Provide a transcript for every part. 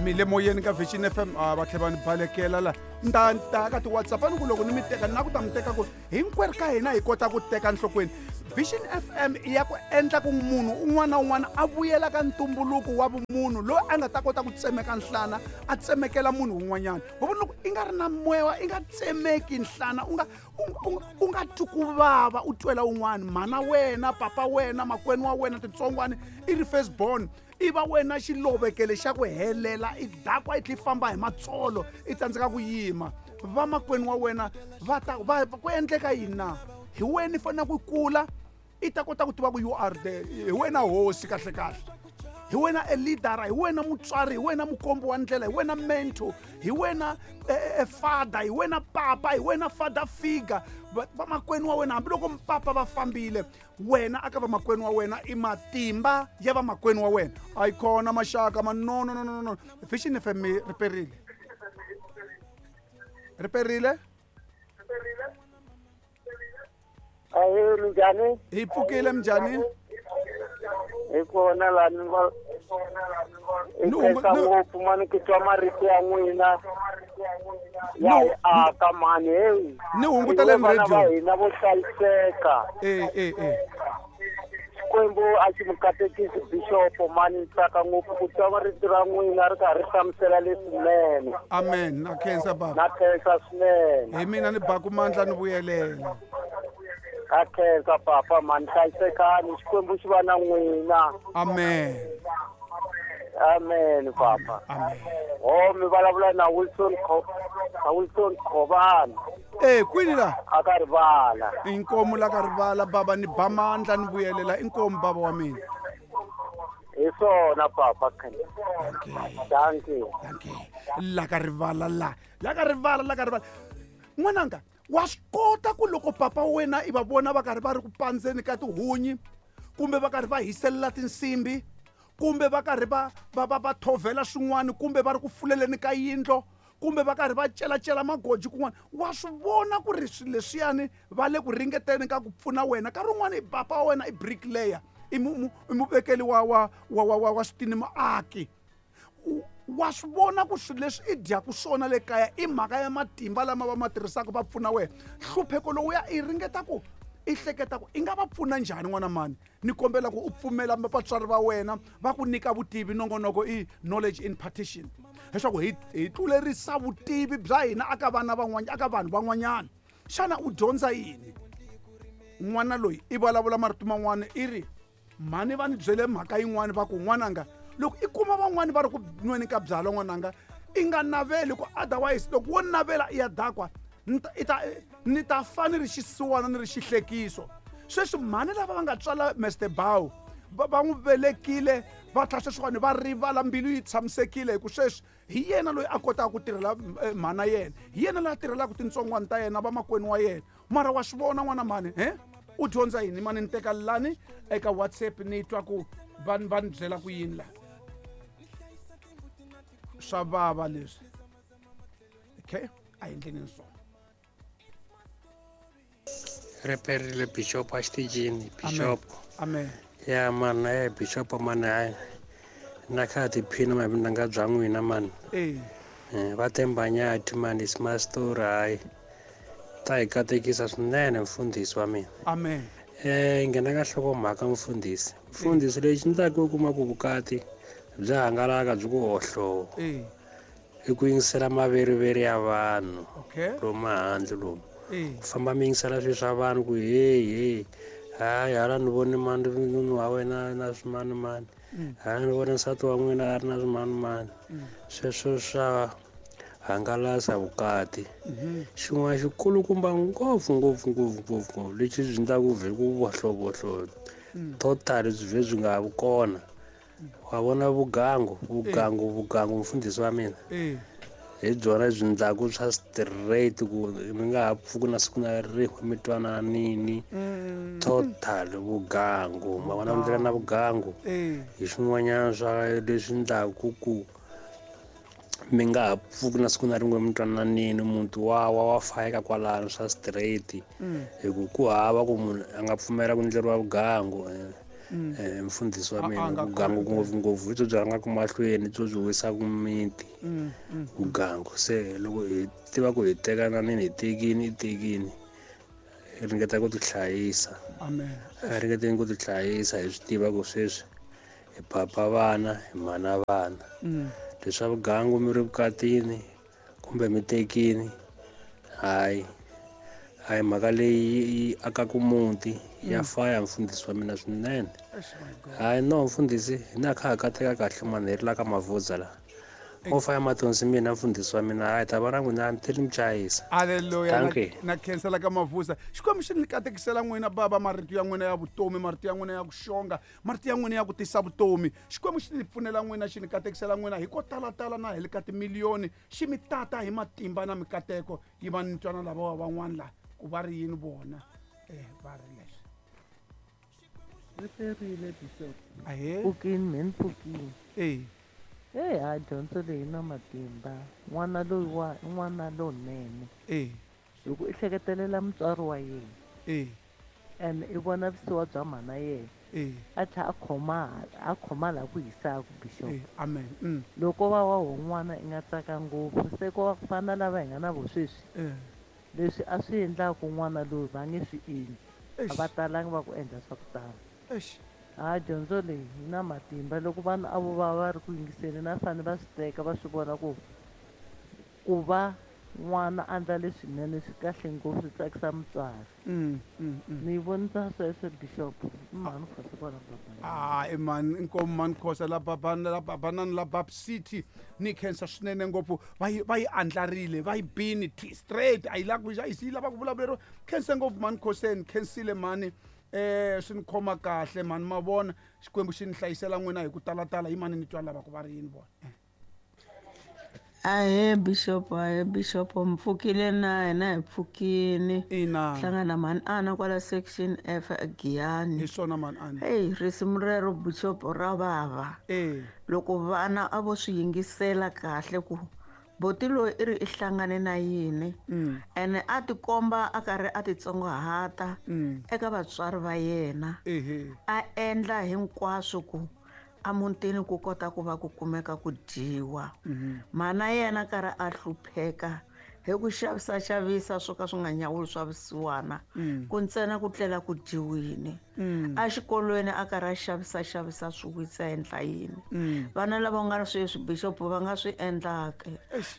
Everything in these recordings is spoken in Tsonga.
Mi le moyeni ka Vision FM. A va tlhela va ni balekela la. Ni ta ni ta ka ti-WhatsApp a ni ku loko ni mi teka ni na ku ta mi teka ku hinkwerhu ka hina hi kota ku teka nhlokweni. Vision FM i ya ku endla ku munhu un'wana na un'wana a vuyela ka ntumbuluko wa vumunhu loyi a nga ta kota ku tsemeka nhlana a tsemekela munhu un'wanyana. Wa vona loko i nga ri na moya i nga tsemeki nhlana u nga u nga twi ku vava u twela un'wana, mhana wena, papa wena, makwenu wa wena, tintsongwana i ri first born, i va wena xilovekele xa ku helela, i dakwa i tlhe i famba hi matsolo i tsandzeka ku yima. Vamakwenu wa wena va ta va ku endleka yini na? Hi wena i fanele ku kula i ta kota ku tiva ku you are the hi wena hosi kahle kahle, hi wena a leader, hi wena mutswari, hi wena mukombi wa ndlela, hi wena mentor, hi wena father, hi wena papa, hi wena father figure. Vamakwenu wa wena hambiloko mpapa va fambile, wena aka vamakwenu wa wena i matimba ya vamakwenu wa wena. A yi kona maxaka ma no no no no no. Vision FM riperile. Riperile? Ahee, minjhani? Hi pfukile, minjhani? Hi kona laha ni va hi khensa ngopfu mani ku twa marito ya n'wina ya hi aka mani. Heyi, ni hunguteleni vana radio. Va hina vo hlayiseka. Xikwembu a xi mi katekisi bishopo mani, ni tsaka ngopfu ku twa marito ra n'wina ri karhi ri hlamusela leswinene. Amen, na khensa baba. Na khensa swinene. Hi mina ni baku mandla ni vuyelela. Na khensa papa mani, hlayisekani, Xikwembu xi va na n'wina. Amen. Amen papa. Amen. Ho mi vulavula na Wilson na Wilson Khobana. Kwini la? A ka rivala. Inkomu la ka rivala baba, ni ba mandla ni vuyelela inkomu baba wa mina. Hi swona papa. Thank you. Thank you. La ka rivala la. La ka rivala, la ka rivala. N'wananga, wa swi kota ku loko papa wa wena i va vona va karhi va ri ku pandzeni ka tihunyi, kumbe va karhi va hiselela tinsimbi, kumbe va karhi va thovhela swin'wana, kumbe va ri ku fuleleni ka yindlo, kumbe va karhi va celacela magoji kun'wana, wa swi vona ku ri swilo leswiyani va le ku ringeteni ka ku pfuna wena. Nkarhi wun'wani papa wa wena i bricklayer, i muvekeli wa switini, muaki. Wa swi vona ku swilo leswi i dyaku swona le kaya i mhaka ya matimba lama va ma tirhisaka va pfuna wena. Nhlupheko lowuya i ringeta ku i hleketa ku i nga va pfuna njhani n'wana mani. Ni kombela ku u pfumela vatswari va wena va ku nyika vutivi. Nongonoko i knowledge impartation, leswaku hi tlulerisa vutivi bya hina aka vana van'wanyana, aka vanhu van'wanyana. Xana u dyondza yini? N'wana loyi i vulavula marito man'wana, i ri mhani va ni byele mhaka yin'wana va ku n'wananga loko i kuma van'wani va ri ku nweni ka byalwa n'wananga i nga naveli ku otherwise loko wo navela i ya dakwa ni ta fa ni ri xisiwana ni ri xihlekiso. Sweswi mhani lava va nga tswala Mister Bow va n'wi velekile va tlhela sweswiwani va rivala, mbilu yi tshamisekile hi ku sweswi hi yena loyi a kotaka ku tirhela mhana yena, hi yena loyi a tirhelaka tintsongwana ta yena, vamakwenu wa yena. Mara wa swi vona n'wana mhani, he u dyondza yini mani? Ni teka lani eka WhatsApp ni twa ku va ni byela ku yini la. Swa vava leswi. Okay, a hi endleni swona. Riperile Bishop a xitichini, Bishop. Amen. Ya man, Bishop man, hayi. Na kha tiphina mavindanga bya n'wina man. Va tembanyati man, is my story hayi. Ta hi katekisa swinene mfundhisi wa mina. Amen. Nghena ka nhlokomhaka mfundhisi. Mfundhisi lexi ni ta ku kuma ku vukati bya hangalaka byi ku hohlo. I ku yingisela maveriveri ya vanhu. Lomu handle lomu. Ku famba mi yingisela swilo swa vanhu ku hey hey. Hayi hala ni vone mani nunu wa wena na swimani mani. Hala ni vone nsati wa n'wina a ri na swimani mani. Sweswo swa hangalasa vukati. Xin'wana xikulukumba ngopfu ngopfu ngopfu ngopfu ngopfu lexi byi endlaka ku vhe ku vohlovohlo total byi vhe byi nga ha vi kona. Wa vona vugangu, vugangu, vugangu mfundhisi wa mina. Hi byona byi endlaku swa straight ku mi nga ha pfuki na siku na rin'we mi twananini. Total vugangu, ma vona ndlela na vugangu. Hi swin'wanyana swa leswi endlaku ku mi nga ha pfuki na siku na rin'we mi twananini, muti wa fayeka kwalano swa straight. Hi ku ku hava ku munhu a nga pfumela ku endleriwa vugangu. Mfundhisi wa mina, vugangu ngopfungopfu hi byo byi rhangaka mahlweni, byo byi wisaka miti. Vugangu se loko hi tiva ku hi tekananini, hi tekini, i tekini, hi ringeta ku tihlayisa. Amen. A ringeteni ku tihlayisa, hi swi tiva ku sweswi hi papa vana, hi mhana vana. Leswa vugangu mi ri vukatini kumbe mi tekini, hayi a hi mhaka leyi yi akaka muti. Ya faya mfundhisi wa mina swinene. Hayi no mfundhisi, hina kha ha kateka kahle mani, hi ri la ka Mavhudza la. Mo faya mathonsi mina mfundhisi wa mina, hayi ta va na n'wina ni tlheli mi chayisa. Halleluya. Na khensela ka Mavhudza. Xikwembu xi ni katekisela n'wina baba, marito ya n'wina ya vutomi, marito ya n'wina ya ku xonga, marito ya n'wina ya ku tisa vutomi. Xikwembu xi ni pfunela n'wina, xi ni katekisela n'wina hi ko talatala na hi le ka timiliyoni, xi mi tata hi matimba na mikateko. Yi va ni twana lava wa van'wana la ku va ri yini vona, va ri leswi. Ri perile Bishop. Ahee. Pfukini mhe ni pfukini. Hey, ha dyondzo leyi na matimba. N'wana loyi wa i n'wana lowunene. Hi ku i hleketelela mutswari wa yena. And i vona vusiwa bya mhana yena. A tlhela a khoma, a khoma laha ku hisaka Bishop. Amen. Loko va wa ho n'wana i nga tsaka ngopfu, se ko va ku fana lava hi nga na vo sweswi. Leswi a swi endlaka n'wana loyi va nge swi endli. A va talangi va ku endla swa ku tala. Ha dyondzo leyi yi na matimba. Loko vanhu a vo va va ri ku yingiseni, na fanele va swi teka va swi vona ku ku va n'wana a endla leswinene swi kahle ngopfu, swi tsakisa mutswari. Ni yi vonisa sweswo Bishop. I mhani Khosa kwala Babana. Ah, i mhani inkomu mhani Khosa la Babana, la Babanani la Bab City. Ni khensa swinene ngopfu. Va yi, va yi andlarile, va yi bini straight. A yi lava ku, a yi lava ku vulavuleriwa. Khensa ngopfu mhani Khoseni, khensile mhani. Swi ni khoma kahle mhani, ma vona Xikwembu xi ni hlayisela n'wina hi ku talatala. Hi mani ni twa lava ku va ri yini vona. Ahee Bishop, ahee Bishop, mpfukile na hina hi pfukini. Ina. Hlangana mhani Ana kwala section F Giyani. Hi swona mhani Ana. Hey, risimu rero Bishop ra vava. Loko vana a vo swi yingisela kahle ku boti loyi i ri i hlangane na yini. Ene a tikomba a karhi a titsongahata eka vatswari va yena. A endla hinkwaswo ku a mutini ku kota ku va ku kumeka ku dyiwa. Mana yena karhi a hlupheka hi ku xavisa xavisa swo ka swi nga nyawuli swa vusiwana, ku ntsena ku tlela ku dyiwini. A xikolweni a karhi a xavisa xavisa swi wisa endla yini. Vana lava nga sweswi Bishop va nga swi endlaka.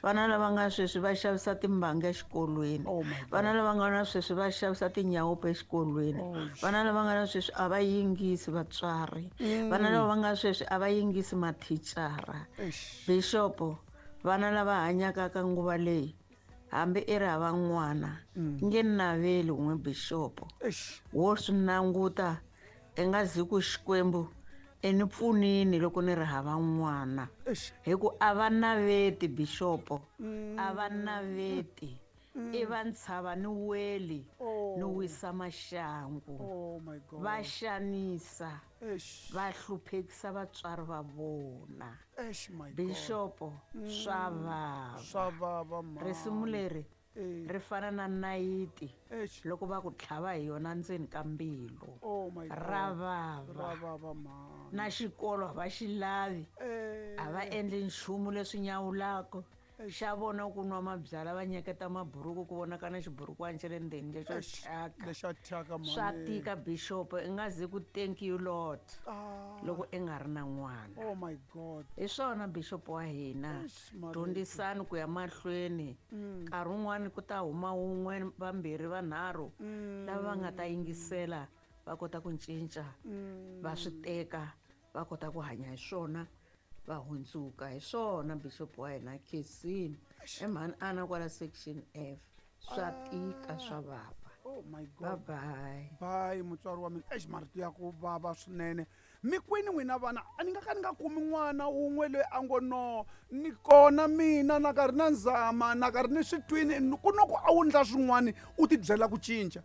Vana lava nga sweswi va xavisa timbanga exikolweni. Vana lava nga na sweswi va xavisa tinyawope exikolweni. Vana lava nga na sweswi a va yingisi vatswari. Vana lava nga sweswi a va yingisi mathicara. Bishop, vana lava hanyaka ka nguva leyi hambi i ri hava n'wana, nge naveli n'we Bishop. Wo swi languta i nga zi ku Xikwembu i ni pfunini loko ni ri hava n'wana. Hi ku a va naveti Bishop, a va naveti. I va ntshava ni weli ni wisa maxangu. Va xanisa, va hluphekisa vatswari va vona. Bishop, swa vava. Swa vava, mhani. Risimu leri ri fana na nayiti loko va ku tlhava hi yona ndzeni ka mbilu. Ra vava. Ra vava, mhani. Na xikolo a va xi lavi. A va endli nchumu leswi nyawulaka. Xa vona ku nwa mabyalwa va nyeketa maburuku ku vonaka na xiburukwani xa le ndzeni lexo thyaka. Lexo thyaka, mhani. Swa tika Bishop, i nga zi ku thank you Lord loko i nga ri na n'wana. Oh my God. Hi swona Bishop wa hina. Eish, Maria. Dyondzisani ku ya mahlweni. Nkarhi wun'wani ku ta huma wun'we, vambirhi, vanharhu lava va nga ta yingisela va kota ku cinca, va swi teka, va kota ku hanya hi swona, va hundzuka hi swona Bishop wa hina Khensini. I mhani Ana kwala section F. Swa tika, swa vava. Oh my God. Bye bye. Bye mutswari wa mina. Eish, marito ya ku vava swinene. Mi kwini n'wina vana? A ni nga ka ni nga kumi n'wana wun'we loyi a ngo no, ni kona mina na karhi na nzama, na karhi ni swi twini, ku no ku a wu ndla swin'wani u ti byela ku cinca.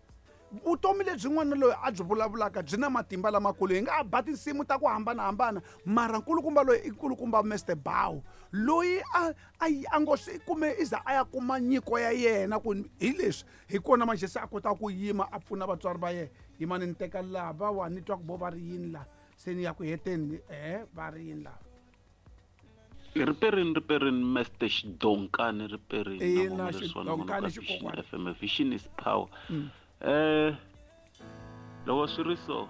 Vutomi lebyi n'wana loyi a byi vulavulaka byi na matimba lamakulu. Hi nga ba tinsimu ta ku hambanahambana, mara nkulukumba loyi i nkulukumba Mister Bow, loyi a ngo swi kume i za a ya kuma nyiko ya yena ku hi leswi hi kona manjhe se a kota ku yima a pfuna vatswari va yena. Yimani ni teka lava wa ni twa ku vo va ri yini la se ni ya ku heteni e va ri yini lava. Riperini riperini Mr Xidonkani riperini ina Xidonkani xikokwana FM vision is power. Loko swi ri so.